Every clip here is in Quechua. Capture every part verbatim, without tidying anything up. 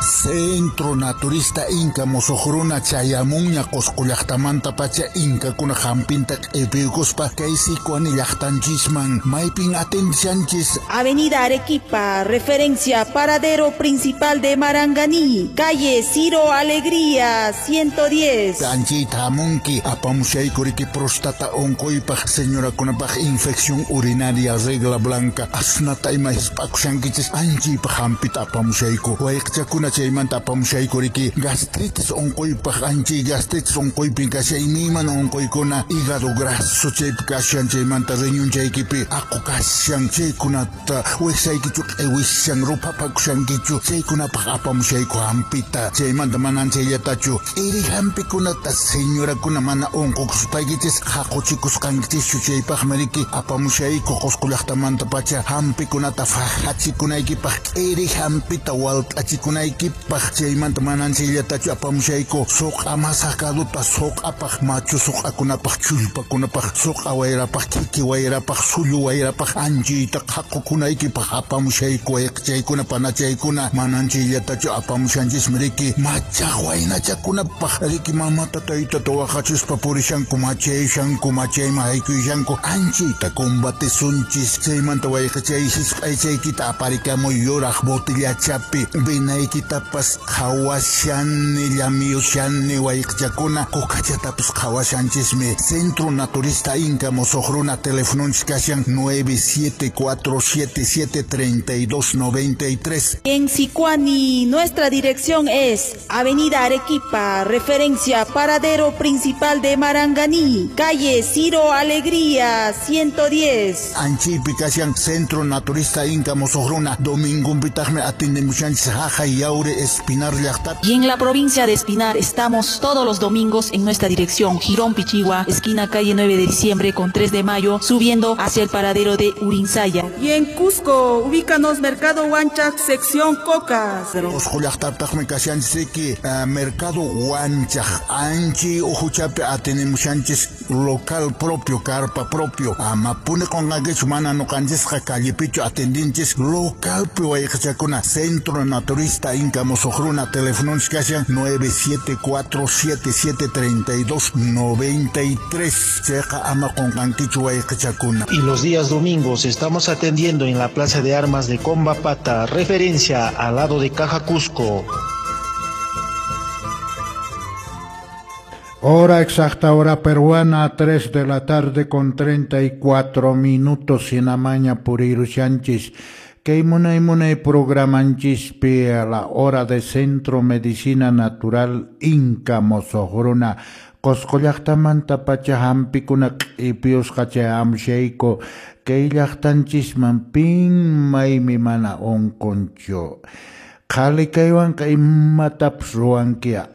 Centro Naturista Inca Mosoqruna chayamunña Qosqo llaqtamanta pacha Inkakuna hampinta q'ipiykuspa kay Sicuani llaqtanchisman maypin atendishanchis. Avenida Arequipa, referencia paradero principal de Maranganí, calle Ciro Alegría, ciento diez. Anchita hamunki apamushayku riki prostata unquypaq señorakunapaq infección urinaria regla blanca asnata ima hisp'akushankichis anchiypaq hampita apamushayku wayqichakuna chaymanta apamushayku riki gastritis unquypaq anchiy gastritis unquypin kashan imaymana unquykuna hígado graso chaypi kashan chaymanta riñonchaykipi aqu kashan chaykunata wiksaykichu q'iwishan ruphapakushankichu chaykunapaq apamushayku hampita chaymanta manan chayllatachu k'iri hampikunata señorakuna mana unqukuspaykichis haquchikusqankichischu chaypaqmi riki apamushayku Qosqo llaqtamanta pacha hampikunata fajachikunaykipaq k'iri hampita walt'achikunaykipaq chaymanta manan chayllatachu apamushayku suq'a masakaduta suq'apaq machu suq'akunapaq chullpakunapaq suq'a wayrapaq kiki wayrapaq sullu wayrapaq anchiyta qhaqukunaykipaq apamushayku wayqichaykuna panachaykuna manan chayllatachu apamushanchismi riki machaq waynachakunapaq riki mamata taytata waqachispa purishanku machayshanku machayman haykuyashanku anchiyta combatisunchis chaymanta wayqichay hisp'aychaykita aparikamuy yuraq botillachapi vinaykitapas qhawashani llamiyushani wayqichakuna kukachatapas qhawashanchismi. Centro Naturista Inca Mosoqruna telefononchis kashan nueve siete cuatro siete siete treinta y dos noventa y tres. En Sicuani, nuestra dirección es Avenida Arequipa, referencia paradero principal de Maranganí, calle Ciro Alegría, ciento diez. Anchiypi kashan Centro Naturista Inca Mosoqruna domingunpitaqmi atendemushanchis Jajay Yauri Espinar llaqtapi. Y en la provincia de Espinar estamos todos los domingos en nuestra dirección Girón Pichigua, esquina calle nueve de diciembre con tres de mayo, subiendo hacia el paradero de Urinsaya. Y en Cusco, ubícanos Mercado Huanchac, sección Cocas. Qosqo llaqtapitaqmi kashanchis riki uh, Mercado Huanchac anchi uhuchapi atendemushanchis local propio, carpa propio. Amapuni qunqankichu mana nuqanchisqa callepichu atendinchis localpi wayqichakuna. Centro Naturista Inca Mosoqruna telefononchis kashan nueve siete cuatro siete siete treinta y dos noventa y tres. Chayqa ama qunqankichu wayqichakuna. Y los días domingos estamos atendiendo en la Plaza de Armas de Combapata, referencia al lado de Caja Cusco. Hora exacta, hora peruana, tres de la tarde con treinta y cuatro minutos, sinamaña purirushanchis. Kay munay munay programanchispi a la hora de Centro Medicina Natural Inca Mosoqruna. Qosqo llaqtamanta pacha hampikuna q'ipiyusqa chayamushayku kay llaqtanchisman pin maymi mana unqunchu. Qhali kaywanqa imatapas ruwankiya.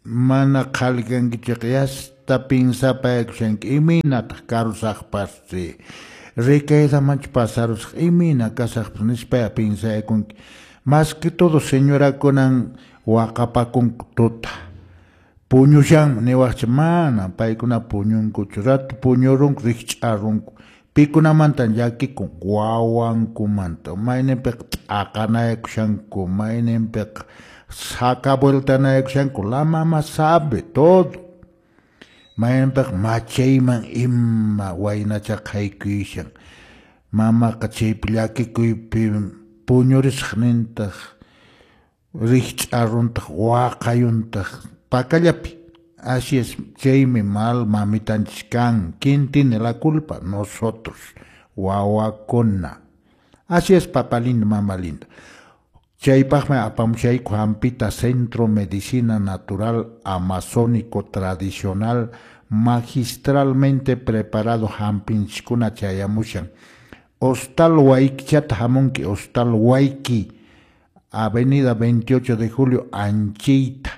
Mana qhali kankichik yasta pinsapayakushanki imaynataq karusaqpasri rikaydamanchu pasarusaq imayna kasaqpas nispaya pinsayakunki. Más que todo señorakunan waqapakunku tuta puñushanmi niwaqcha mana paykuna puñunkuchu ratu puñurunku rikch'arunku pikunamantan llakikun wawankumanta mayninpiqa t'aqanayakushanku mayninpiqa saca vueltanayakushanku la mama sabe todo mayninpiqa machayman ima waynachaqa haykuyashan mamaqa chaypi llakikuypi puñurisaq nintaq rikch'aruntaq waqayuntaq pakallapi. Así es, chaymi mal mamitanchis kan. ¿Quién tiene la culpa? Nosotros, wawakuna. Así es, papá lindo, mamá linda. Chaypaqmi apamushayku hampita Centro Medicina Natural Amazónico Tradicional magistralmente preparado hampinchiskuna chayamushan. Hostal Huayquichata hamunki, Hostal Huayqui, Avenida veintiocho de Julio, Anchita.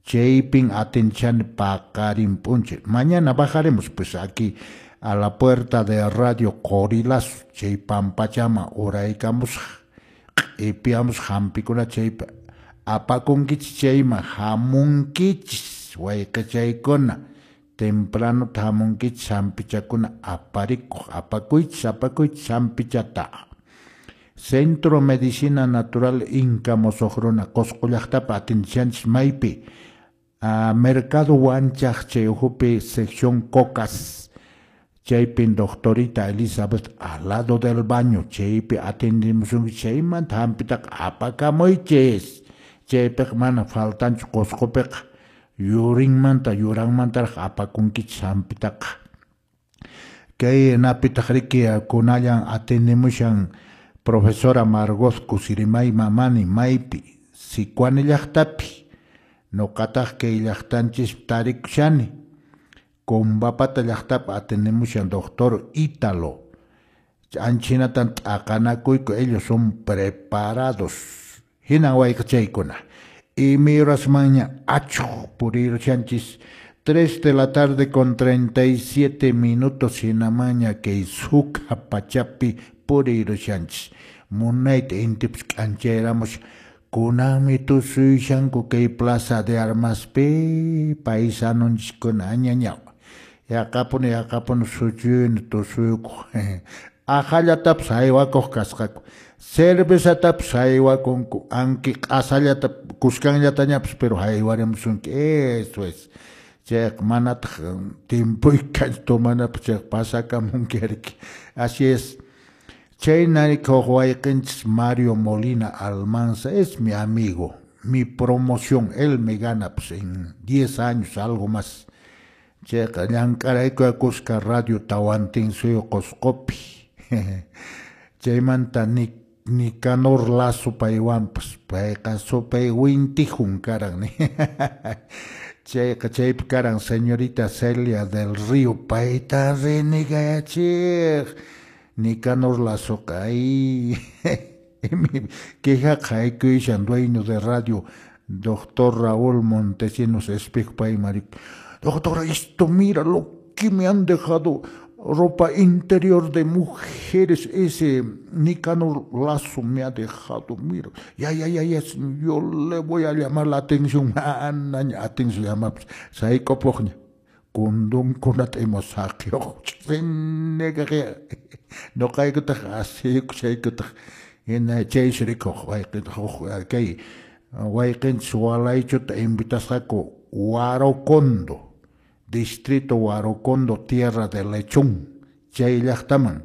Chaypin atenchani paqarin p'unchay. Mañana bajaremos pues aquí a la puerta de Radio Corilazo, chay pampachama uraykamusaq q'ipiyamusaq hampikuna chaypi apakunkichis chayman hamunkichis wayqichaykuna tempranota hamunkichis hampichakuna aparikuq apakuychis apakuychis hampichata. Centro Medicina Natural Inca Mosuq Runa Qusqu llaqtapi atindishanchis maypi a Mercado Huanchaq chay ukhupi sección Cocas chaypin doctorita Elizabeth al lado del baño chaypi atindimusunki chaymanta hampitaqa apakamuychis chaypiqa mana faltanchu Qusqupiqa yurinmanta yuranmantaraq apakunkichis hampitaqa kay napitaq riki kunallan atindimushan profesora Margot Kusirimay Mamani maypi Sicuani llaqtapi nuqataq kay llaqtanchis tarikushani Combapata llaqtapi atindimushan doctor Ítalo anchinatan t'aqanakuyku ellos son preparados hinan wayqichaykuna imayrasmanña achuq purirushanchis tres de la tarde con treinta y siete minutos hinamaña kay sukha pachapi purirushanchis munayta intipas k'anchayramushan kunanmi tusuyashanku kay plaza de armaspi paisanunchiskuna añañaw yaqapuni yaqapuni suchuyuni tusuykuq aqhallatapas haywakuq kasqaku cervezatapas haywakunku anki q'asallata kuskanllatañapas pero haywarimusunki eso es chayqa manataq timpuykanchu tomanapaq chayqa pasakamunki riki así es. Chaynariki huk wayqinchis Mario Molina Almanza es mi amigo, mi promoción, él me gana pues en diez años, algo más. Chayqa llank'arayku kuska radio Tawantinsuyu Qusqupi. Chaymanta Nicanor Lazo paywanpas, payqa supay wintijun karan. Chayqa chaypi karan señorita Celia del Río, payta renegayachiq. Nicanor Lazoqa ay quejaqa haykuyashan dueño de radio doctor Raúl Montesinos Espejo pay marico. Doctor, esto mira lo que me han dejado, ropa interior de mujeres, ese Nicanor Lazo me ha dejado, mira, ya, ya, ya, ya, yo le voy a llamar la atención, anaña, atención, llama, saykopuqña, kundunkunata ima saqiyuq, nuqaykutaq asiyku chaykutaq, hina chaysi rikuq wayqin kay wayqinchis walaychuta invitasqaku Huarocondo, distrito Huarocondo, tierra de lechón, chay llaqtaman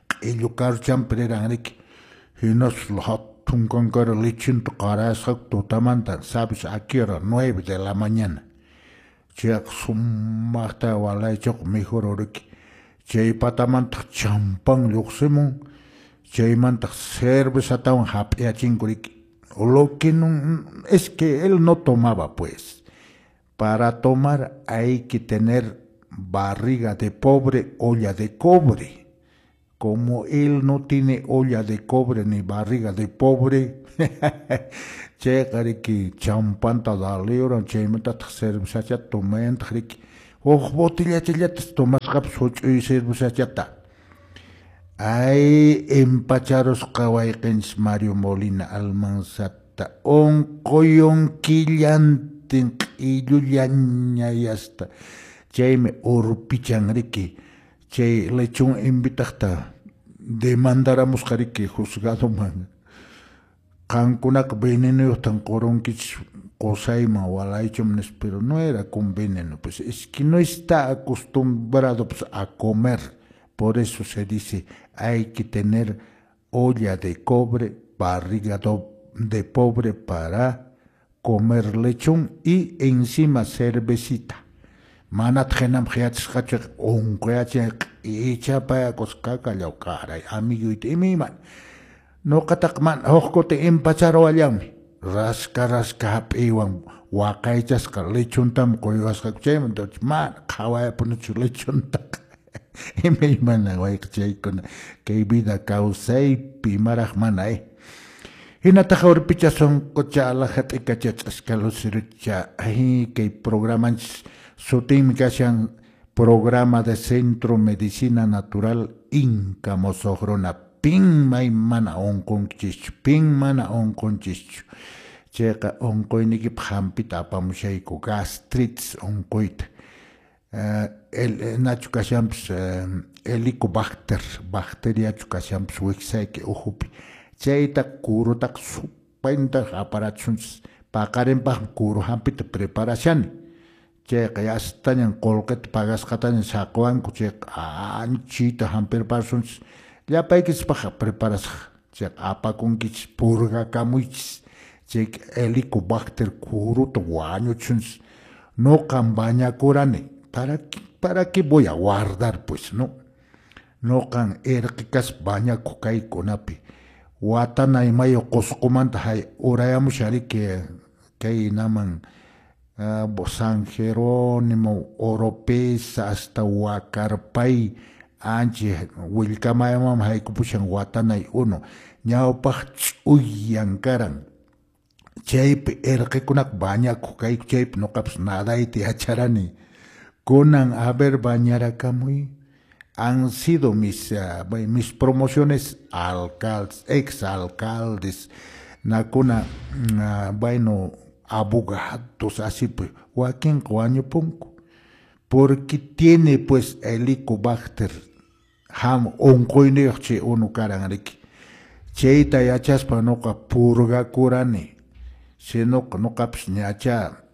q'illu karuchanpi riran riki, hinaspa hatun kankara lechinta qarasqaku tutamanta, sabes a qué hora, nueve de la mañana, chayqa sumaqta walaychuqa mikhururiki, chay patamantaq champán lluqsimun, chaymantaq cervezatawan hap'iyachinku riki. Lo que no, es que él no tomaba, pues. Para tomar hay que tener barriga de pobre, olla de cobre. Como él no tiene olla de cobre ni barriga de pobre, chayqa riki champanta daliuran, chaymantataq cervezachata tomayantaq riki. Huk botellachallatas tomasqapas huch'uy cervezachata. Ay, empacharusqa wayqinchis Mario Molina Almanzata, unquyun killantin q'illullañayasta, chaymi urpichan riki, chay lechón invitaqta demandaramusqa riki juzgadoman, qankunaqa venenuyuqtan qurunkichis qusayman walaychum nispa, pero no era con veneno, pues es que no está acostumbrado pues, a comer. Por eso se dice, hay que tener olla de cobre, barriga de pobre para comer lechón y encima cervecita. Manataq hinam qhiyachisqachu unquyachin ichapayakusqa karay amiguyta imayman. Nuqataq mana huk kuti empacharuwallanmi, rasca rasca hap'iwan waqaychasqa lechontam quywasqaku chaymanta mana qhawayapunichu lechontaqa. Imaymana wayqichaykuna kay vida kawsaypi imaraq mana eh. Hinataq urpicha sunqucha alaja t'ikacha ch'aska lucerocha ay kay programanchis sutinmi kashan programa de Centro Medicina Natural Inca Mosuq Runa pin may mana unqunchischu pin mana unqunchischu chayqa unquyniykipaq hampita apamushayku gastritis unquyta. Uh, el nachu kashanpas uh, Helicobacter bacteriachu kashanpis wiksayki uhupi chayta kurutaqa supayta aparachisunchis paqarinpaqmi kuru hampita preparashani chayqa yastañan qullqita pagasqataña saquwanku chayqa anchita hampirparasunchis llapaykichispaqqa preparasaq chayqa apakunkichis purgakamuychis chayqa Helicobacter kuruta wañuchisunchis nuqan bañakurani para para qué voy a guardar pues no nuqan irqi kaspa bañakuq kaykunapi watanay mayu Qusqumanta hay urayamushan riki kaynaman San Jerónimo, Oropesa hasta Huacarpay anchi willkamayaman haykupushan watanay unu ñawpaq ch'uyan karan chaypi irqikunaqa bañakuq kayku chaypi nuqapas nadayta yacharani kunan a ver bañarakamuy han sido mis, uh, mis promociones alcaldes, ex alcaldes, nakuna, uh, bueno, abogados, así pues, wakinqa wañupunku, porque tiene pues Helicobacter ham unquyniyuq chay unu karan riki, chayta yachaspa nuqa purgakurani, sinoqa nuqapis ñacha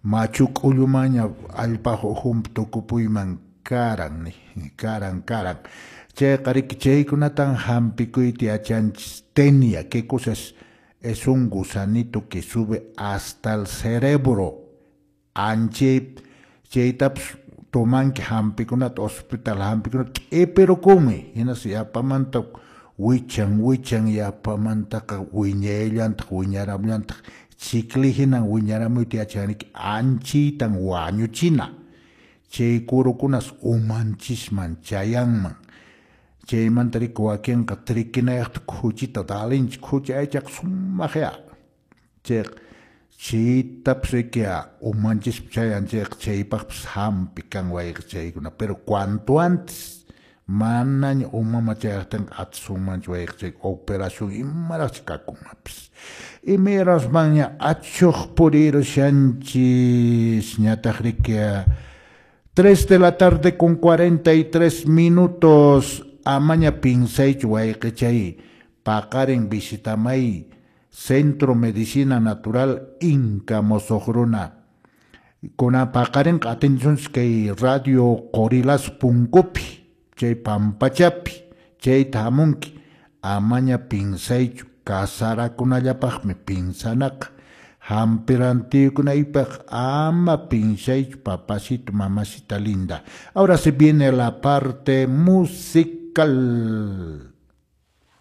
machu k'ullumanña allpaq ukhunpi tukupuyman karan, karan, karan. Chayqa riki chaykunatan hampikuyta yachanchis. Tenia, ¿qué cosas? Es un gusanito que sube hasta el cerebro. Anchay chaytapas tomanki hampikunata hospital hampikunata q'ipirukunmi hinaspa yapamanta wichan wichan yapamantaqa wiñayllantaq wiñaramullantaq chikli hinan wiñaramuyta yachanriki anchaytan wañuchina chay kurukunas umanchisman chayanman chaymanta riki wakinqa trikinayaqta khuchita dalinchik khuchi aychaqa sumaqya chayqa chaytapas riki umanchispi chayan chayqa chaypaqpas hampi kan wayqa chaykuna pero cuanto antes manaña umama chayaqtinqa atisunmanchu wayqa chay operación imaraqchi kakunmapis imayrasmanña achuq purirushanchis ñataq riki tres de la tarde con cuarenta y tres minutos. Amaña pinsaychu wayqichay paqarin visitamay Centro Medicina Natural Inca Mosoqruna. Kuna paqarinqa atinchunchis kay Radio Qorilas punkupi chay pampachapi chayta hamunki amaña pinsaychu kasarakunallapaqmi pinsanaqa hampirantiykunaypaq ama pinsaychu papacito mamacita linda. Ahora se viene la parte musical.